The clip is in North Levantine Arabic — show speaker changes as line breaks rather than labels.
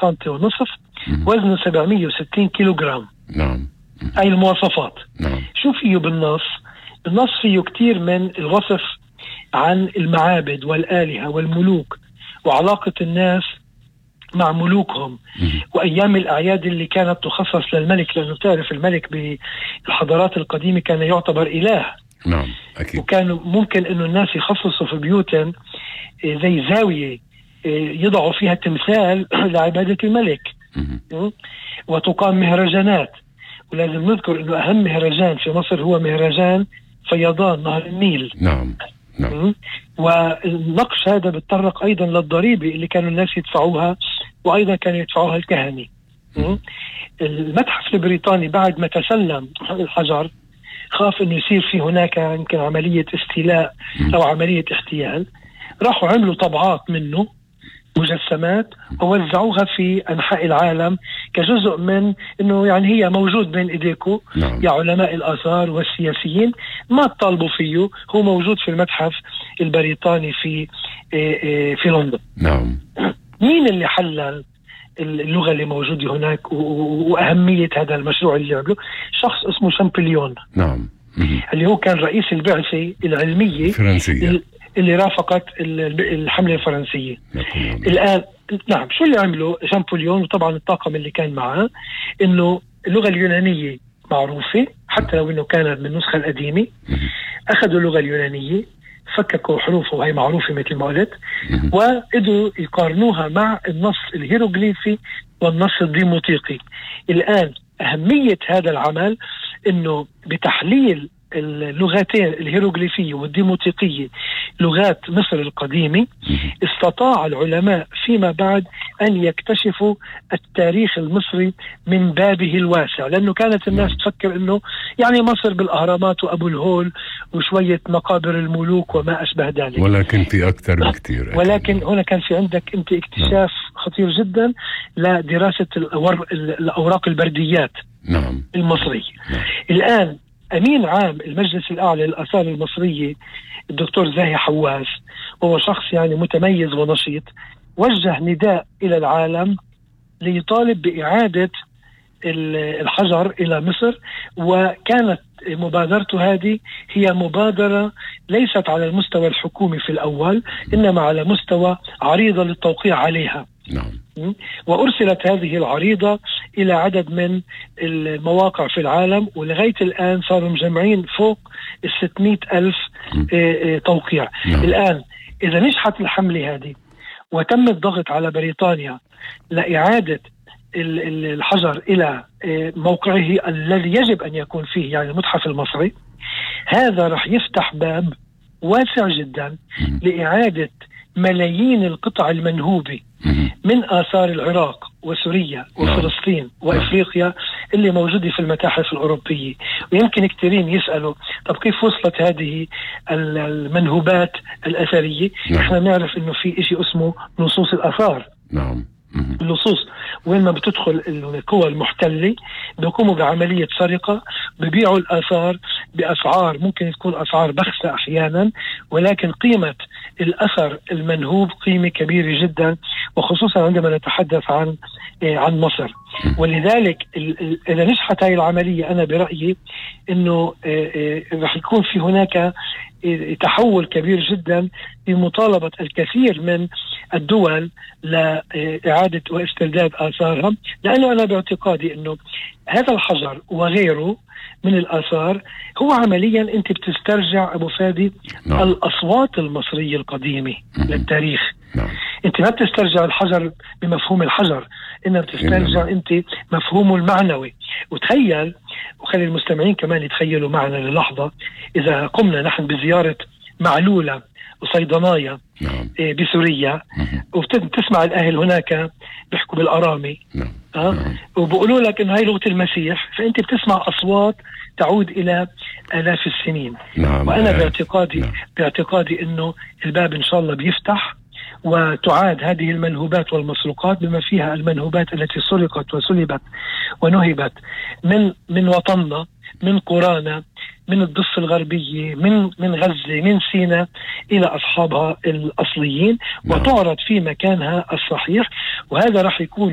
سنتي ونصف، وزنه 760 كيلوغرام.
نعم.
هاي المواصفات.
نعم.
شو فيه بالنص؟ بالنص فيه كتير من الوصف عن المعابد والآلهة والملوك وعلاقة الناس مع ملوكهم وأيام الأعياد اللي كانت تخصص للملك، لأنه تعرف الملك بالحضارات القديمة كان يعتبر إله.
نعم أكيد.
وكانوا ممكن أنه الناس يخصصوا في بيوتهم زي زاوية يضعوا فيها تمثال لعبادة الملك. وتقام مهرجانات، ولازم نذكر أنه أهم مهرجان في مصر هو مهرجان فيضان نهر النيل.
نعم. نعم.
والنقش هذا بتطرق أيضا للضريبة اللي كانوا الناس يدفعوها، وأيضا كانوا يدفعوها الكهنة. المتحف البريطاني بعد ما تسلم الحجر خاف أنه يصير في هناك يمكن عملية استيلاء أو عملية احتيال، راحوا عملوا طبعات منه مجسمات ووزعوها في أنحاء العالم كجزء من أنه يعني هي موجود بين إيديكم.
نعم.
يا علماء الآثار والسياسيين ما تطالبوا فيه، هو موجود في المتحف البريطاني في لندن.
نعم.
مين اللي حلل اللغة اللي موجودة هناك وأهمية هذا المشروع اللي عمله؟ شخص اسمه شامبليون.
نعم.
اللي هو كان رئيس البعثة العلمية
الفرنسية
اللي رافقت الحملة الفرنسية. الآن نعم، شو اللي عمله شامبوليون وطبعا الطاقم اللي كان معه؟ إنه اللغة اليونانية معروفة حتى لو إنه كانت من النسخة القديمة. أخذوا اللغة اليونانية، فككوا حروفه وهي معروفة مثل ما قلت، وقدروا يقارنوها مع النص الهيروغليفي والنص الديموطيقي. الآن أهمية هذا العمل إنه بتحليل اللغتين الهيروغليفية والديموطيقية لغات مصر القديمة استطاع العلماء فيما بعد أن يكتشفوا التاريخ المصري من بابه الواسع، لأنه كانت الناس تفكر أنه يعني مصر بالأهرامات وأبو الهول وشوية مقابر الملوك وما أشبه ذلك،
ولكن في أكثر بكتير.
ولكن هنا كان في عندك أنت اكتشاف خطير جدا لدراسة الأوراق البرديات المصرية. الآن أمين عام المجلس الأعلى للآثار المصرية الدكتور زاهي حواس، وهو شخص يعني متميز ونشيط، وجه نداء إلى العالم ليطالب بإعادة الحجر إلى مصر. وكانت مبادرته هذه هي مبادرة ليست على المستوى الحكومي في الأول، إنما على مستوى عريضة للتوقيع عليها. وأرسلت هذه العريضة إلى عدد من المواقع في العالم، ولغاية الآن صاروا مجمعين فوق 600,000 توقيع. الآن إذا نجحت الحملة هذه وتم الضغط على بريطانيا لإعادة الحجر إلى موقعه الذي يجب أن يكون فيه، يعني المتحف المصري، هذا رح يفتح باب واسع جدا لإعادة ملايين القطع المنهوبة من آثار العراق وسوريا وفلسطين وإفريقيا اللي موجودة في المتاحف الأوروبية. ويمكن كثيرين يسألوا طب كيف وصلت هذه المنهوبات الأثرية؟ احنا نعرف انه في اشي اسمه نصوص الآثار. اللصوص وين ما بتدخل القوى المحتلة بيقوموا بعملية سرقة، ببيعوا الآثار بأسعار ممكن تكون أسعار بخسة أحيانا، ولكن قيمة الأثر المنهوب قيمة كبيرة جدا، وخصوصا عندما نتحدث عن مصر. ولذلك إذا نجحت هاي العملية أنا برأيي أنه رح يكون في هناك تحول كبير جدا بمطالبة الكثير من الدول لإعادة واسترداد آثارها، لأنه أنا باعتقادي أنه هذا الحجر وغيره من الآثار هو عمليا أنت بتسترجع أبو فادي الأصوات المصرية القديمة للتاريخ. أنت ما بتسترجع الحجر بمفهوم الحجر، إنما بتسترجع أنت مفهومه المعنوي. وتخيل، وخلي المستمعين كمان يتخيلوا معنا للحظة، إذا قمنا نحن بزيارة معلولة وصيدنايا بسوريا وبتسمع الأهل هناك بيحكوا بالأرامي وبقولوا لك إنه هاي لغة المسيح، فأنت بتسمع أصوات تعود إلى آلاف السنين. وأنا باعتقادي إنه الباب إن شاء الله بيفتح، وتعاد هذه المنهوبات والمسروقات بما فيها المنهوبات التي سرقت وسلبت ونهبت من وطننا، من قرانا، من الضفة الغربية، من غزة، من سيناء إلى أصحابها الأصليين، وتعرض في مكانها الصحيح. وهذا راح يكون